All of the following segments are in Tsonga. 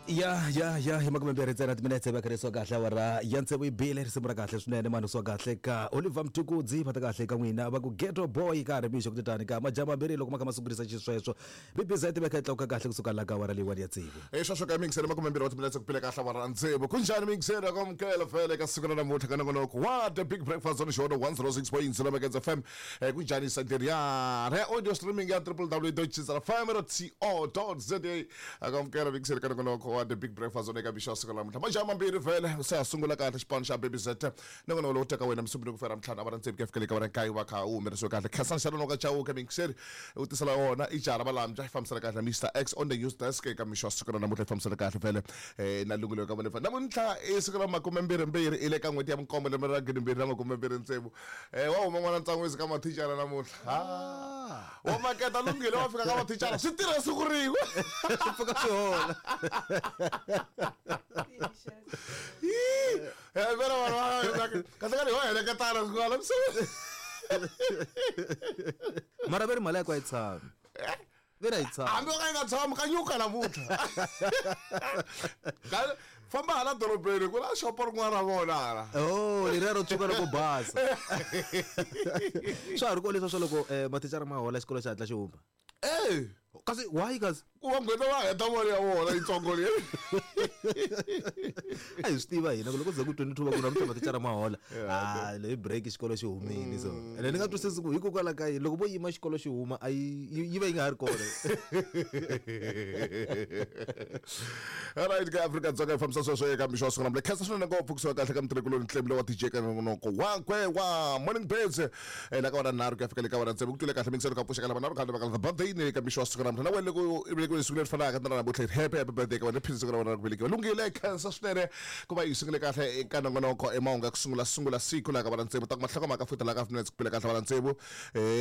Ya ya ya hi 20 ntsena timinetse va kharisiwa kahle awara ya tsevu yi bile. Risimu ra kahle swinene mani swa kahle ka Oliver Mtukudzi, va ta kahle ka n'wina va ku Ghetto Boy ka ha ri mixo ku titani ka majaha mambirhi loko ma kha ma sungurisa xisweswo. BBZ va kha yi tlakuka kahle kusuka la ka awara leyiwani ya tsevu. Hi sweswo ka mixere 20 wa timinetse ku pile kahle awara ya tsevu. Ku njhani mixere ku amukela vhele ka siku ra namuntlha ka nongonoko wa The Big Breakfast on Xona 106.0 Megahertz FM. Ku njhani site ya re audio streaming ya www.chizafm.co.za. Akamukela mixere ka nongonoko wa The Big Breakfast on eka mixo ya siku ra namuntlha. Majaha mambirhi vhele se ha sungula kahle xipano xa Baby Z. Nongonoko lowu teka wena musumbunuko ku fela ntlhanu awara tsevu ku ya fikela eka awara nkaye wa kha wu humelerisiwe kahle. Khensani xa nonoka Chauke mixere u tisela wona i jaha ra Valambya yi fambisana kahle na Mr X on the news desk eka mixo ya siku ra namuntlha yi fambisana kahle vhele na lunghelo ka vona. Namuntlha i siku ra makumembirhimbirhi i le ka n'hweti ya vunkombo lembe ra 2026. Wa huma n'wana Ntsan'wisi ka mathicara namuntlha. Ha. Wa maketa lunghelo wa fika ka mathicara swi tirha siku rin'we. Swi pfuka swi hola. Vela vanhu va kahle kahle ho heleketana siku la misaveni. Mara ve ri mali ya ku a yi tshami. Ve ri a yi tshami. Hambi o ka yi nga tshami ka nyuka namuntlha. Famba hala dorobeni ku na xopo rin'wana ra vona hala. Oh, leriya ro tshuka loko basa. Swa ha ri kona leswiya swa loko mathicara ma hola xikolo xi hatla xi huma. Eh. Kasi why kasi? Ku va nghena va heta mali ya vona yitsongo leyi. A hi swi tiva hina ku loko ze ku 22 va ku namuntlha mathicara ma hola. Ah, leyi break xikolo xi humile so. Ene ni nga twisisi ku hikokwalaho ka yini loko vo yima xikolo xi huma a yi yi va yi nga ha ri kona. Alright ka Afrika-Dzonga yi fambisa sweswo eka mixo wa siku namuntlha. Khensa swinene ngopfu kusuka kahle ka mutirhikuloni Ntlembile wa DJ ka nongonoko wakwe wa Morning Birds. La ka wena nharhu ku ya fika le ka wena tsevu ku twile kahle mingiselo ka pfuxa ka lava nharhu khale va birthday ni ka mixo wa siku namuntlha. Na wena loko i velekiwe siku leri fanaka na namuntlha happy happy birthday ka wena phini siku ra wena ra ku velekiwa. Lunghile khensa swinene ku va yi sungule kahle eka nongonoko emahungu ya ku sungula sungula siku la ka wena tsevu ta ku mahlokomhaka futhi la ka minutes ku pile kahle wena tsevu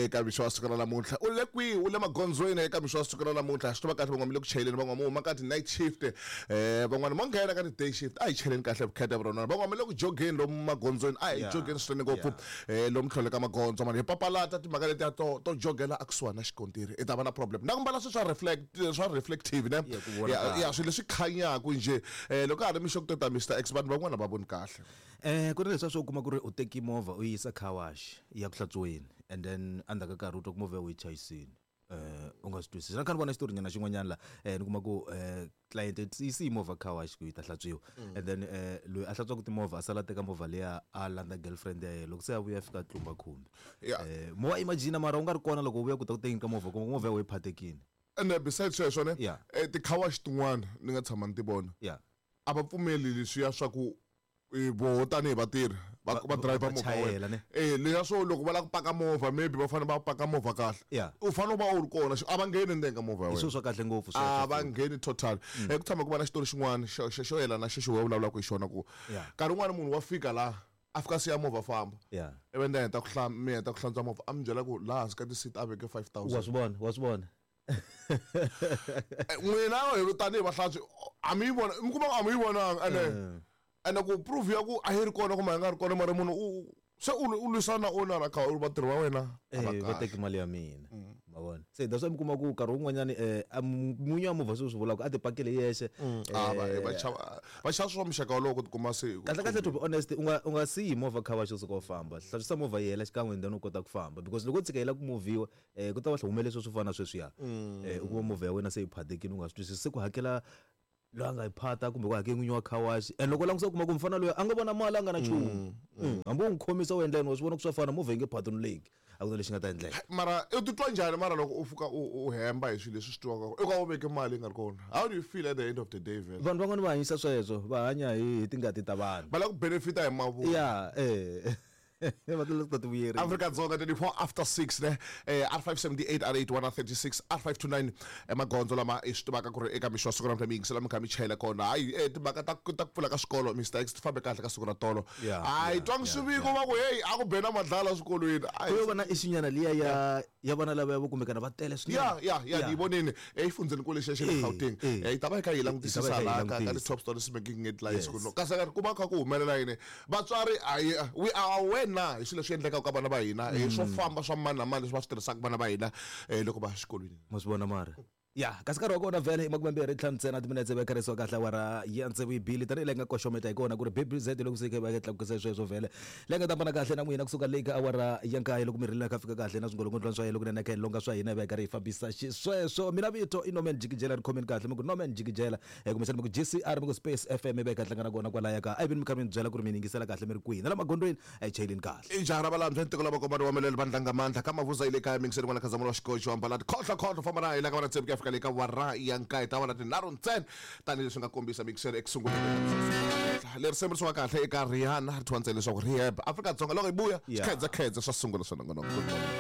eka mixo wa siku ra namuntlha. U le kwihi? U le magondzweni eka mixo wa siku ra namuntlha. Swi tiva kahle van'wana mi le ku chayeleni, van'wana mi huma ka ti-night shift, van'wana mo nghena ka ti-day shift. A hi cheleni kahle vukheta vurona. Van'wana mi le ku jogeni lomu magondzweni, a hi jogeni swinene ngopfu lomu tlhelo ka magondzo mani hi papalata timhaka letiya to to jogela ekusuhani na xikontiri i ta va na problem. Na ku mbala swilo swa reflect swa reflective ne ya swilo leswi khanyaka njhe loko ka ha ri mixo ku to ta Mister X vanhu van'wana va voni kahle. Ku ri leswiya swo kuma ku ri u teki movha u yi yisa car wash yi ya ku hlantswiweni and then endzhaku ka nkarhi u twa ku movha ya wena yi chayisile u nga swi twisisi. Na kha ni vona xitori nyana xin'wanyana la ni kuma ku client yi siyi movha car wash ku yi ta hlantswiwa and then loyi a hlantswaka timovha a sala a teka movha liya a landza girlfriend ya yena loko se a vuya a fika a tlumba khumbi. Mo wa imagine mara u nga ri kona loko u vuya ku ta ku tekeni ka movha u kuma ku movha ya wena yi phatekile. Ene besides sweswo ne ti-car wash tin'wana ni nga tshama ni ti vona a va pfumeli leswiya swa ku voho tanihi vatirhi va va driver movha chayela ne leswiya swo loko va lava ku paka movha maybe va fanele va paka movha kahle u fanele u va u ri kona a va ngheni ndzeni ka movha ya wena. Hi swilo swa kahle ngopfu a va ngheni total. Ku tshama ku va na xitori xin'wana xo xo yelana na xexo wena u vulavulaka hi xona ku nkarhi wun'wani munhu wa fika laha a fika a siya movha a famba ivi ni heta ku mi heta ku hlantswa movha a mi byela ku laha hansi ka ti-seat a veke 5000. Wa swi vona wa swi vona. N'wina hi tanihi vahlantswi a mi yi vona mi kuma ku a mi yi vonanga ene ene ku proof ya ku a yi ri kona kumbe a yi nga ri kona mara munhu u se u u lwisana na owner kha u vatirhi va wena a va va teki mali ya mina ma vona se that's why mi kuma ku nkarhi wun'wanyani n'winyi wa movha sweswi swi vulaka a ti pakele yexe. A va va chava va xava swa muxaka wolowo ku tikuma se kahle kahle to be honest u nga u nga siyi movha car wash u suka u famba hlantswisa movha yi hela xikan'we and then u kota ku famba because loko u tshika yi lava ku movhiwa ku ta va humelele sweswo swo fana na sweswiya u kuma movha ya wena se yi phatekile u nga swi twisisi se ku hakela loyi a nga yi phata kumbe ku hakela n'winyi wa car wash and loko u langutisa u kuma ku mufana loyi a nga vona mali a nga na nchumu hambi u n'wi khomisa u endla yini wa swi vona ku swa fana movha yi nge phatunuleki a ku na lexi nga ta endleka. Mara u titwa njhani mara loko u fika u u hemba hi swilo leswi swi tivaka u ka u veke mali yi nga ri kona how do you feel at the end of the day vhele? Vanhu van'wana va hanyisa sweswo va hanya hi hi tingati ta vanhu. Va lava ku benefita hi mavunwa. Ya eh va ta ta ti vuyerisa. Afrika-Dzonga 24 after 6 ne R578 R81 R36 R529 emagondzo lama i swi tivaka ku ri eka mixo wa siku ra namuntlha mi yingisela mi kha mi chayela kona hayi timhaka ta ta ku pfula ka swikolo Mister X ti fambe kahle ka siku ra tolo hayi twangi swiviko va ku heyi a ku be na madlala swikolweni ku yo va na issue-nyana liya ya ya vana lavaya vo kumbekana va tele swinene. Ya ya ya ni yi vonini exifundzheni nkulu lexiya xa le Gauteng. Hi ta va hi kha hi langutisisa laha ka ka ti-top stories making headlines ku no kasi ku va kha ku humelela yini vatswari a hi we are aware na hi swilo leswi endlekaka ka vana va hina hi swo famba swa mani na mani leswi va swi tirhisaka vana va hina loko va ya exikolweni. Ma swi vona mara. Ya, kasi nkarhi wa kona vhele i 25 ntsena timinetse va kharisiwa kahle awara ya tsevu yi bile, tanihi leyi nga koxometa hi kona ku ri BBZ loko se yi kha yi va yi tlakukisa sweswo vhele leyi nga ta hambana kahle na n'wina kusuka leyi ka awara ya nkaye loko mi ri kha fika kahle na swingolongondzwana swa yena loko nene kha hi longa swa hina hi va hi karhi hi fambisa xisweswo. Mina vito i Norman Jikijela, ri khomeni kahle mi ku Norman Jikijela, kumbexana mi ku GCR, mi ku Space FM, hi va hi kha hi hlangana kona kwalaya ka a yi vini mi kha mi ni byela ku ri mi yingisela kahle mi ri kwihi na la magondzweni, a hi chayeleni kahle. I jaha ra valambya ntiko la vakomani wa melele vandla nga mandla ka mavuza yi le kaya mingiseni n'wana khazamula wa xikoxi wa mbalati khohlo khohlo famba na hina ka vana tsevu ku ya fika le ka wara ya nkaye ta vana tinharhu ntsena tanihileswi nga kombisa mingiseni eku sunguleni leri risimu ri suka kahle eka Rihanna ri thyiwa ntsena leswaku Rehab. Afrika-Dzonga loko yi vuya swikhedzekhedze swa sungula swa nongonoko. Good morning.